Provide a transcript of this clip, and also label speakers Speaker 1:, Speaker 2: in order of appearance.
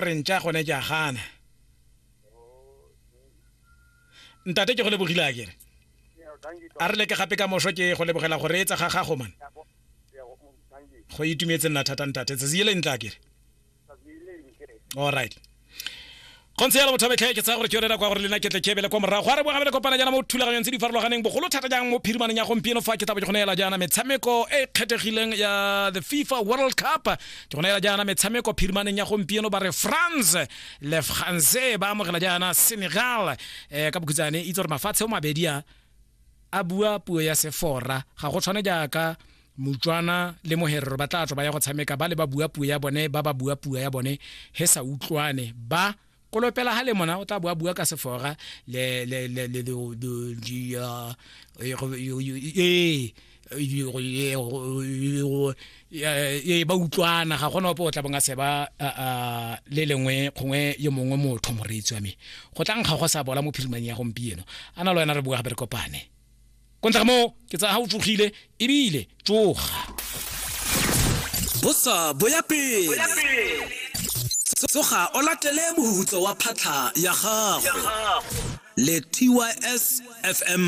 Speaker 1: Re ntša gone ke a gana. Ntate ke go lebogile a kere. A re leke gape ka moso ke go lebogela go reetsa ga gago man. Go itumetse nna thata ntate. Tsatsi le ntla kere. All right. Go ntse yalo motho betlhe ke tsaya gore ke yone nako ya gore le nna ke tle ke ebele kwa morago. A re boa gape le kopana jaana mo thulaganyong tse di farologaneng bogolo thata jang mo phirimaneng ya gompieno fa ke tla bo ke go neela jaana metshameko e e kgethegileng ya the FIFA World Cup. Ke go neela jaana metshameko phirimaneng ya gompieno ba re France le France ba amogela jaana Senegal eh, ka bokhutsane itse gore mafatshe o mabedi a a bua puo ya sefora ga go tshwane jaaka Motswana le Moherero ba tla tswa ba ya go tshameka ba le ba bua puo ya bone ba ba bua puo ya bone he sa utlwane ba kolopela ha le mona o tla bua bua ka sefora le le le le di ya ee ba utlwana ga gona ope o tla bong a seba le lengwe gongwe yo mongwe motho moreetsi wa me go tla nkga go sa bola mo phirimang ya gompieno a na le wena re bua gape re kopane ko ntle ga moo ke tsaya ga o tsogile ebile tsoga.
Speaker 2: Bosa bo ya pele. Tsoga o latele mohutso wa phatlha ya gago le TYS FM.